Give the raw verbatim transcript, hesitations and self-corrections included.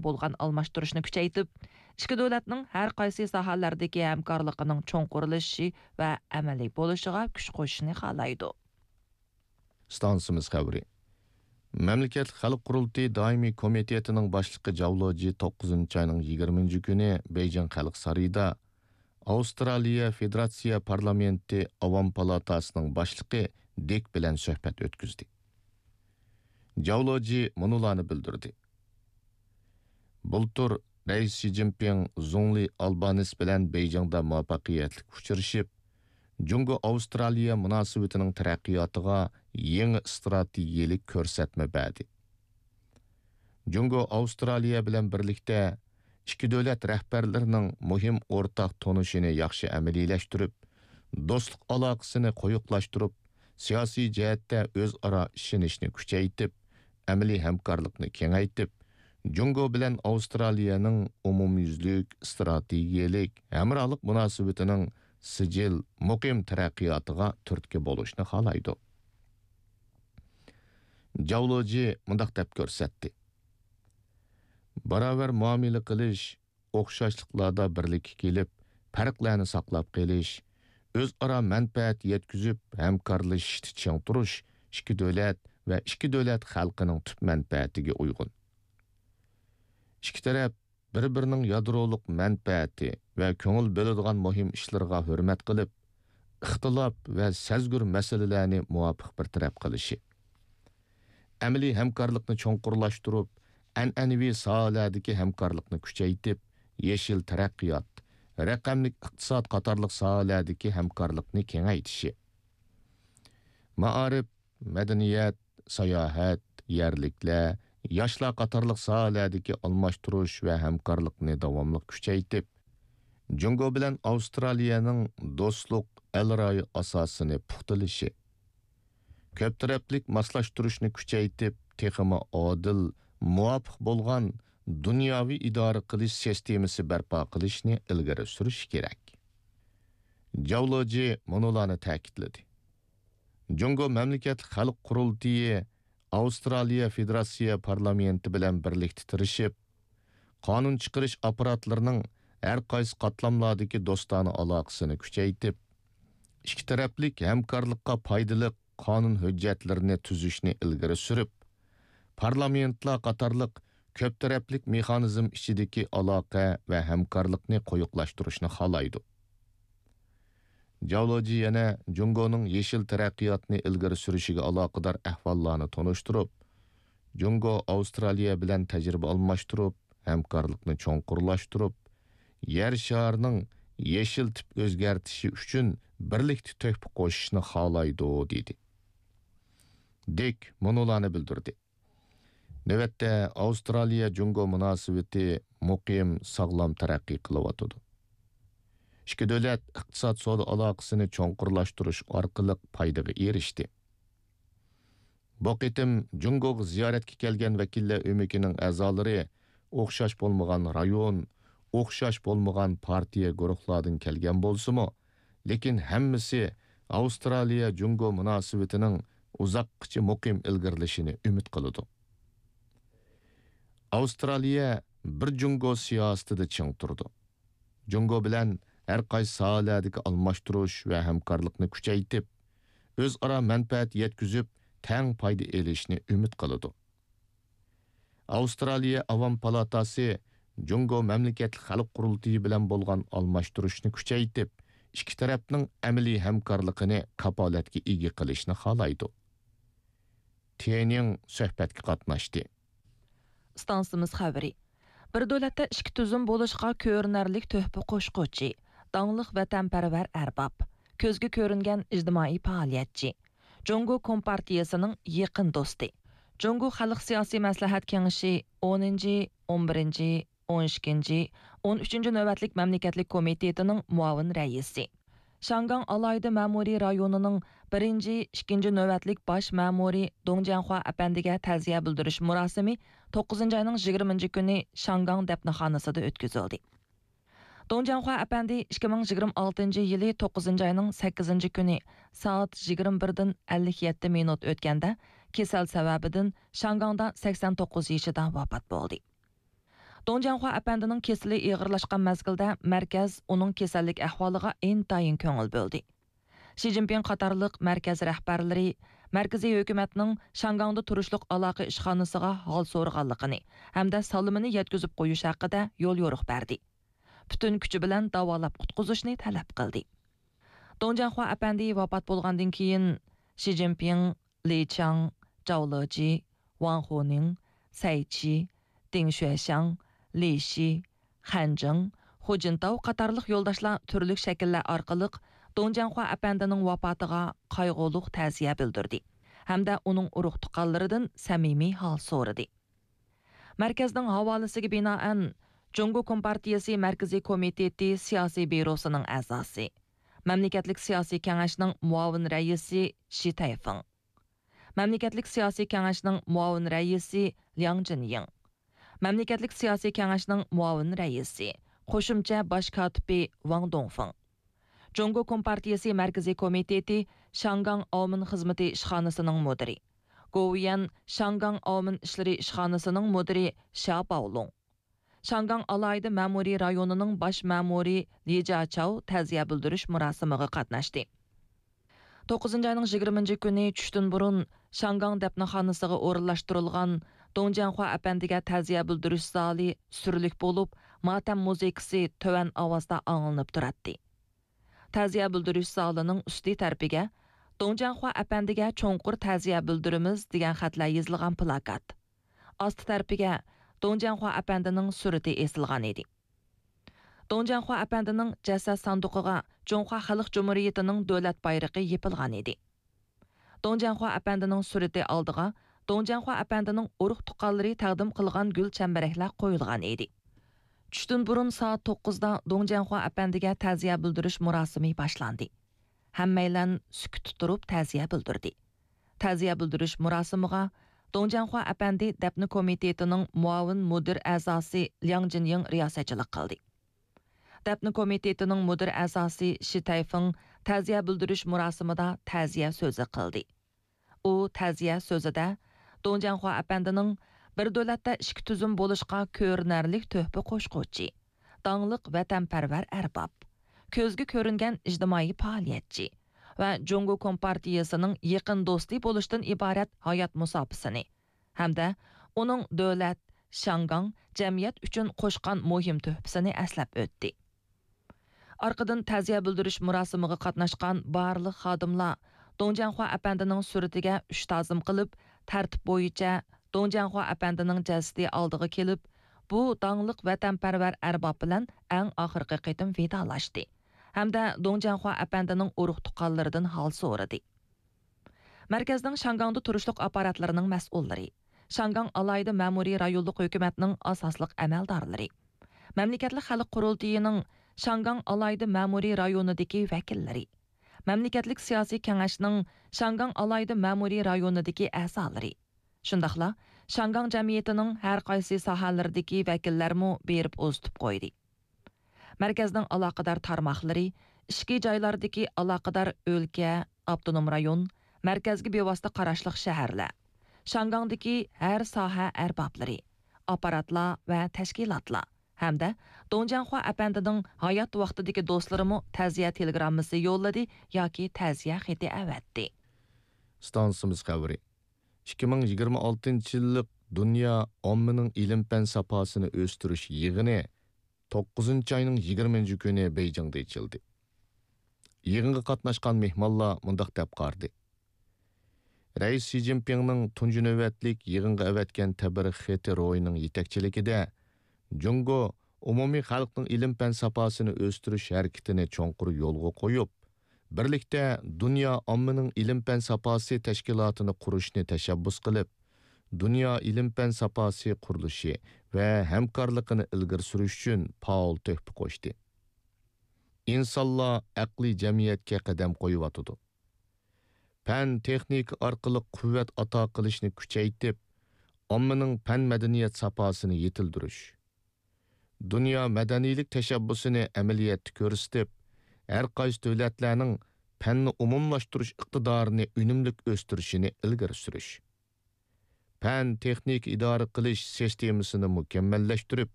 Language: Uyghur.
بولغان ئالماشتۇرۇشنى كۈچەيتىپ، ئىككى دۆلەتنىڭ ھەر قايسى ساھەلەردىكى ھەمكارلىقىنىڭ چوڭقۇرلىشىشى ۋە ئەمەلىي بولۇشىغا كۈچ قوشۇشنى خالايدۇ. ئىستانسىمىز خەۋىرى. مەملىكەتلىك خەلق قۇرۇلتىيى دائىمىي كومىتېتىنىڭ باشلىقى جاۋ لېجى توققۇزىنچى ئاينىڭ يىگىرمىنچى كۈنى بېيجىڭ خەلق سارىيىدا ئاۋسترالىيە فېدېراتسىيە پارلامېنتى ئاۋام پالاتاسىنىڭ باشلىقى دىك بىلەن سۆھبەت ئۆتكۈزدى. جاۋ لېجى مۇنۇلارنى بىلدۈردى. بۇلتۇر رەئىس شى جىنپىڭ زۇڭلى ئالبانىس بىلەن بېيجىڭدا مۇۋەپپەقىيەتلىك ئۇچرىشىپ، جۇڭگو ئاۋسترالىيە مۇناسىۋىتىنىڭ تەرەققىياتىغا يېڭى ئىستراتېگىيەلىك كۆرسەتمە بەردى. جۇڭگو ئاۋسترالىيە بىلەن بىرلىكتە ئىككى دۆلەت رەھبەرلىرىنىڭ مۇھىم ئورتاق تونۇشىنى ياخشى ئەمەلىيلەشتۈرۈپ، دوستلۇق ئالاقىسىنى قويۇقلاشتۇرۇپ، سىياسىي جەھەتتە ئۆزئارا ئىشىنىشنى كۈچەيتىپ، ئەمەلىي ھەمكارلىقنى كېڭەيتىپ، جۇڭگو بىلەن ئاۋسترالىيەنىڭ ئومۇميۈزلۈك ئىستراتېگىيەلىك ھەمراھلىق مۇناسىۋىتىنىڭ سىجىل، مۇقىم تەرەققىياتىغا تۈرتكە بولۇشنى خالايدۇ. جاۋ لېجى مۇنداق دەپ كۆرسەتتى: باراۋەر مۇئامىلە قىلىش، ئوخشاشلىقلاردا بىرلىككە كېلىپ، پەرقلەرنى ساقلاپ قېلىش، ئۆزئارا مەنپەئەت يەتكۈزۈپ ھەمكارلىشىشتا چىڭ تۇرۇش ئىككى دۆلەت ۋە ئىككى دۆلەت خەلقىنىڭ تۈپ مەنپەئەتىگە ئۇيغۇن. ئىككى تەرەپ بىر-بىرىنىڭ يادرولۇق مەنپەئەتى ۋە كۆڭۈل بۆلىدىغان مۇھىم ئىشلىرىغا ھۆرمەت قىلىپ، ئىختىلاپ ۋە سەزگۈر مەسىلىلەرنى مۇۋاپىق بىر تەرەپ قىلىشى، ئەمەلىي ھەمكارلىقنى چوڭقۇرلاشتۇرۇپ، ئەنئەنىۋى ساھەلەردىكى ھەمكارلىقنى كۈچەيتىپ، يېشىل تەرەققىيات، رەقەملىك ئىقتىساد قاتارلىق ساھەلەردىكى ھەمكارلىقنى كېڭەيتىشى، مائارىپ، مەدەنىيەت، ساياھەت، يەرلىكلەر، ياشلار قاتارلىق ساھەلەردىكى ئالماشتۇرۇش ۋە ھەمكارلىقنى داۋاملىق كۈچەيتىپ، جۇڭگو بىلەن ئاۋسترالىيەنىڭ دوستلۇق ئەل رايى ئاساسىنى پۇختىلىشى، كۆپ تەرەپلىك ماسلاشتۇرۇشنى كۈچەيتىپ، تېخىمۇ ئادىل، مۇۋاپىق بولغان دۇنياۋى ئىدارە قىلىش سىستېمىسى بەرپا قىلىشنى ئىلگىرى سۈرۈش كېرەك. جاۋ لېجى مۇنۇلارنى تەكىتلىدى. جۇڭگو مەملىكەتلىك خەلق قۇرۇلتىيى ئاۋسترالىيە فېدېراتسىيە پارلامېنتى بىلەن بىرلىكتە تىرىشىپ، قانۇن چىقىرىش ئاپپاراتلىرىنىڭ ھەر قايسى قاتلاملاردىكى دوستانە ئالاقىسىنى كۈچەيتىپ، ئىككى تەرەپلىك ھەمكارلىققا پايدىلىق قانۇن ھۆججەتلىرىنى تۈزۈشنى ئىلگىرى سۈرۈپ، پارلامېنتلار قاتارلىق كۆپ تەرەپلىك مېخانىزم ئىچىدىكى ئالاقە ۋە ھەمكارلىقنى قويۇقلاشتۇرۇشنى خالايدۇ. جاۋ لېجى يەنە جۇڭگونىڭ يېشىل تەرەققىياتنى ئىلگىرى سۈرۈشىگە ئالاقىدار ئەھۋاللارنى تونۇشتۇرۇپ، جۇڭگو ئاۋسترالىيە بىلەن تەجرىبە ئالماشتۇرۇپ، ھەمكارلىقنى چوڭقۇرلاشتۇرۇپ، يەر شارىنىڭ يېشىل تىپ ئۆزگەرتىشى ئۈچۈن بىرلىكتە تۆھپە قوشۇشنى خالايدۇ، دېدى. دىك مۇنۇلارنى بىلدۈردى. نۆۋەتتە ئاۋسترالىيە جۇڭگو مۇناسىۋىتى مۇقىم، ساغلام تەرەققىي قىلىۋاتىدۇ. ئىككى دۆلەت ئىقتىساد سودا ئالاقىسىنى چوڭقۇرلاشتۇرۇش ئارقىلىق پايدىغا ئېرىشتى. بۇ قېتىم جۇڭگوغا زىيارەتكە كەلگەن ۋەكىللەر ئۆمىكىنىڭ ئەزالىرى ئوخشاش بولمىغان رايون، ئوخشاش بولمىغان پارتىيە گۇرۇھلاردىن كەلگەن بولسىمۇ، لېكىن ھەممىسى ئاۋسترالىيە جۇڭگو مۇناسىۋىتىنىڭ ئۇزاققىچە مۇقىم ئىلگىرىلىشىنى ئۈمىد قىلىدۇ. ئاۋسترالىيە بىر جۇڭگو سىياسىتىدە چىڭ تۇرىدۇ. جۇڭگو بىلەن ھەر قايسى ساھەلەردىكى ئالماشتۇرۇش ۋە ھەمكارلىقنى كۈچەيتىپ، ئۆزئارا مەنپەئەت يەتكۈزۈپ، تەڭ پايدا ئېلىشنى ئۈمىد قىلىدۇ. ئاۋسترالىيە ئاۋام پالاتاسى جۇڭگو مەملىكەتلىك خەلق قۇرۇلتىيى بىلەن بولغان ئالماشتۇرۇشنى كۈچەيتىپ، ئىككى تەرەپنىڭ ئەمەلىي ھەمكارلىقىنى كاپالەتكە ئىگە قىلىشنى خالايدۇ. تيەنيىڭ سۆھبەتكە قاتناشتى. ئىستانسىمىز خەۋىرى. بىر دۆلەتتە ئىككى تۈزۈم بولۇشقا كۆرۈنەرلىك تۆھپە قوشقۇچى، داڭلىق ۋەتەنپەرۋەر ئەرباب، كۆزگە كۆرۈنگەن ئىجتىمائىي پائالىيەتچى، جۇڭگو كومپارتىيىسىنىڭ يېقىن دوستى، جۇڭگو خەلق سىياسىي مەسلىھەت كېڭىشى ئونىنچى، ئون بىرىنچى، ئون ئىككىنچى، ئون ئۈچىنچى نۆۋەتلىك مەملىكەتلىك كومىتېتىنىڭ مۇئاۋىن رەئىسى، شياڭگاڭ ئالاھىدە مەمۇرىي رايونىنىڭ بىرىنچى، ئىككىنچى نۆۋەتلىك باش مەمۇرى دۇڭ جياڭخۇا ئەپەندىگە تەزىيە بىلدۈرۈش مۇراسىمى توققۇزىنچى ئاينىڭ يىگىرمىنچى كۈنى شياڭگاڭ دەپنىخانىسىدا ئۆتكۈزۈلدى. دۇڭ جياڭخۇا ئەپەندى ئىككى مىڭ يىگىرمە ئالتىنچى يىلى توققۇزىنچى ئاينىڭ سەككىزىنچى كۈنى سائەت يىگىرمە بىردىن ئەللىك يەتتە مىنۇت ئۆتكەندە، كېسەل سەۋەبىدىن شياڭگاڭدا سەكسەن توققۇز يېشىدا ۋاپات بولدى. دۇڭ جياڭخۇا ئەپەندىنىڭ كېسىلى ئېغىرلاشقان مەزگىلدە مەركەز ئۇنىڭ كېسەللىك ئەھۋالىغا ئىنتايىن كۆڭۈل بۆلدى. شى جىنپىڭ قاتارلىق مەركەز رەھبەرلىرى، مەركىزىي ھۆكۈمەتنىڭ شياڭگاڭدا تۇرۇشلۇق ئالاقە ئىشخانىسىغا ھال سورىغانلىقىنى ھەمدە سالىمىنى يەتكۈزۈپ قويۇش ھەققىدە يوليورۇق بەردى. پۈتۈن كۈچى بىلەن داۋالاپ قۇتقۇزۇشنى تەلەپ قىلدى. دۇڭ جياڭخۇا ئەپەندى ۋاپات بولغاندىن كېيىن، شى جىنپىڭ، لى چاڭ، جاۋ لېجى، ۋاڭ خۇنىڭ، سەي چى، دىڭ شۈەشياڭ، لى شى، خەن جىڭ، خۇ جىنتاۋ قاتارلىق يولداشلار تۈرلۈك شەكىللەر ئارقىلىق دۇڭ جياڭخۇا ئەپەندىنىڭ ۋاپاتىغا قايغۇلۇق تەزىيە بىلدۈردى ھەمدە ئۇنىڭ ئۇرۇق-تۇغقانلىرىدىن سەمىمىي ھال سورىدى. مەركەزنىڭ ھاۋالىسىگە بىنائەن، جۇڭگو كومپارتىيىسى مەركىزىي كومىتېتى سىياسىي بيۇروسىنىڭ ئەزاسى، مەملىكەتلىك سىياسىي كېڭەشنىڭ مۇئاۋىن رەئىسى شى تەيفېڭ، مەملىكەتلىك سىياسىي كېڭەشنىڭ مۇئاۋىن رەئىسى لياڭ جىنيىڭ، مەملىكەتلىك سىياسىي كېڭەشنىڭ مۇئاۋىن رەئىسى، قوشۇمچە باش كاتىپى ۋاڭ دۇڭفېڭ، جۇڭگو كومپارتىيىسى مەركىزىي كومىتېتى شياڭگاڭ ئاۋمېن خىزمىتى ئىشخانىسىنىڭ مۇدىرى، گوۋۇيۈەن شياڭگاڭ ئاۋمېن ئىشلىرى ئىشخانىسىنىڭ مۇدىرى شيا باۋلۇڭ، شياڭگاڭ ئالاھىدە مەمۇرىي رايونىنىڭ باش مەمۇرى لى جياچاۋ تەزىيە بىلدۈرۈش مۇراسىمىغا قاتناشتى. توققۇزىنچى ئاينىڭ يىگىرمىنچى كۈنى چۈشتىن بۇرۇن شياڭگاڭ دەپنىخانىسىغا ئورۇنلاشتۇرۇلغان دۇڭ جياڭخۇا ئەپەندىگە تەزىيە بىلدۈرۈش زالى سۈرلۈك بولۇپ، ماتەم مۇزىكىسى تۆۋەن ئاۋازدا ئاڭلىنىپ تۇراتتى. تەزىيە بىلدۈرۈش زالىنىڭ ئۈستى تەرىپىگە «دۇڭ جياڭخۇا ئەپەندىگە چوڭقۇر تەزىيە بىلدۈرىمىز» دېگەن خەتلەر يېزىلغان پىلاكات، ئاستى تەرىپىگە دۇڭ جياڭخۇا ئەپەندىنىڭ سۈرىتى ئېسىلغان ئىدى. دۇڭ جياڭخۇا ئەپەندىنىڭ جەسەت ساندۇقىغا جۇڭخۇا خەلق جۇمھۇرىيىتىنىڭ دۆلەت بايرىقى يېپىلغان ئىدى. دۇڭ جياڭخۇا ئەپەندىنىڭ سۈرىتى ئالدىغا دۇڭ جياڭخۇا ئەپەندىنىڭ ئۇرۇق-تۇغقانلىرى تەقدىم قىلغان گۈل چەمبىرەكلەر قويۇلغان ئىدى. چۈشتىن بۇرۇن سائەت توققۇزدا دۇڭ جياڭخۇا ئەپەندىگە تەزىيە بىلدۈرۈش مۇراسىمى باشلاندى. ھەممەيلەن سۈكۈتتە تۇرۇپ تەزىيە بىلدۈردى. تەزىيە بىلدۈرۈش مۇراسىمىغا دۇڭ جياڭخۇا ئەپەندى دەپنە كومىتېتىنىڭ مۇئاۋىن مۇدىر ئەزاسى لياڭ جىنيىڭ رىياسەتچىلىك قىلدى. دەپنە كومىتېتىنىڭ مۇدىر ئەزاسى شى تەيفېڭ تەزىيە بىلدۈرۈش مۇراسىمىدا تەزىيە سۆزى قىلدى. ئۇ تەزىيە سۆزىدە دۇڭ جياڭخۇا ئەپەندىنىڭ بىر دۆلەتتە ئىككى تۈزۈم بولۇشقا كۆرۈنەرلىك تۆھپە قوشقۇچى، داڭلىق ۋەتەنپەرۋەر ئەرباب، كۆزگە كۆرۈنگەن ئىجتىمائىي پائالىيەتچى ۋە جۇڭگو كومپارتىيىسىنىڭ يېقىن دوستى بولۇشتىن ئىبارەت ھايات مۇساپىسىنى ھەمدە ئۇنىڭ دۆلەت، شياڭگاڭ، جەمئىيەت ئۈچۈن قوشقان مۇھىم تۆھپىسىنى ئەسلەپ ئۆتتى. ئارقىدىن تەزىيە بىلدۈرۈش مۇراسىمىغا قاتناشقان بارلىق خادىملار دۇڭ جياڭخۇا ئەپەندىنىڭ سۈرىتىگە ئۈچ تازىم قىلىپ، تەرتىپ بويىچە دۇڭ جياڭخۇا ئەپەندىنىڭ جەسىتى ئالدىغا كېلىپ، بۇ داڭلىق ۋەتەنپەرۋەر ئەرباب بىلەن ئەڭ ئاخىرقى قېتىم ۋىدالاشتى ھەمدە دۇڭ جياڭخۇا ئەپەندىنىڭ ئۇرۇق-تۇغقانلىرىدىن ھال سورىدى. مەركەزنىڭ شياڭگاڭدا تۇرۇشلۇق ئاپپاراتلىرىنىڭ مەسئۇللىرى، شياڭگاڭ ئالاھىدە مەمۇرىي رايونلۇق ھۆكۈمەتنىڭ ئاساسلىق ئەمەلدارلىرى، مەملىكەتلىك خەلق قۇرۇلتىيىنىڭ شياڭگاڭ ئالاھىدە مەمۇرىي رايونىدىكى ۋەكىللىرى، مەملىكەتلىك سىياسىي كېڭەشنىڭ شياڭگاڭ ئالاھىدە مەمۇرىي رايونىدىكى ئەزالىرى، شۇنداقلا شياڭگاڭ جەمئىيىتىنىڭ ھەر قايسى ساھەلىرىدىكى ۋەكىللەرمۇ بېرىپ ئۇزىتىپ قويدى. مەركەزنىڭ ئالاقىدار تارماقلىرى، ئىچكى جايلاردىكى ئالاقىدار ئۆلكە، ئاپتونوم رايون، مەركەزگە بىۋاسىتە قاراشلىق شەھەرلەر، شياڭگاڭدىكى ھەر ساھە ئەربابلىرى، ئاپپاراتلار ۋە تەشكىلاتلار ھەمدە دۇڭ جياڭخۇا ئەپەندىنىڭ ھايات ۋاقتىدىكى دوستلىرىمۇ تەزىيە تېلېگراممىسى يوللىدى ياكى تەزىيە خېتى ئەۋەتتى. ئىستانسىمىز خەۋىرى. ئىككى مىڭ يىگىرمە ئالتىنچى يىللىق دۇنيا ئاممىنىڭ ئىلىم-پەن ساپاسىنى ئۆستۈرۈش يىغىنى توققۇزىنچى ئاينىڭ يىگىرمىنچى كۈنى بېيجىڭدا ئېچىلدى. يىغىنغا قاتناشقان مېھمانلار مۇنداق دەپ قارىدى: رەئىس شى جىنپىڭنىڭ تۇنجى نۆۋەتلىك يىغىنغا ئەۋەتكەن تەبرىك خېتى روھىنىڭ يېتەكچىلىكىدە، جۇڭگو ئومۇمىي خەلقنىڭ ئىلىم-پەن ساپاسىنى ئۆستۈرۈش ھەرىكىتىنى چوڭقۇر يولغا قويۇپ، بىرلىكتە دۇنيا ئاممىنىڭ ئىلىم-پەن ساپاسى تەشكىلاتىنى قۇرۇشنى تەشەببۇس قىلىپ، دۇنيا ئىلىم-پەن ساپاسى قۇرۇلۇشى ۋە ھەمكارلىقىنى ئىلگىرى سۈرۈش ئۈچۈن پائال تۆھپە قوشتى. ئىنسانلار ئەقلىي جەمئىيەتكە قەدەم قويۇۋاتىدۇ. پەن، تېخنىكا ئارقىلىق قۇۋۋەت ئاتا قىلىشنى كۈچەيتىپ، ئاممىنىڭ پەن مەدەنىيەت ساپاسىنى يېتىلدۈرۈش، دۇنيا مەدەنىيلىك تەشەببۇسىنى ئەمەلىيەتتە كۆرسىتىپ، ھەر قايسى دۆلەتلەرنىڭ پەننى ئومۇملاشتۇرۇش ئىقتىدارىنى ئۈنۈملۈك ئۆستۈرۈشىنى ئىلگىرى سۈرۈش، پەن، تېخنىكا ئىدارە قىلىش سىستېمىسىنى مۇكەممەللەشتۈرۈپ،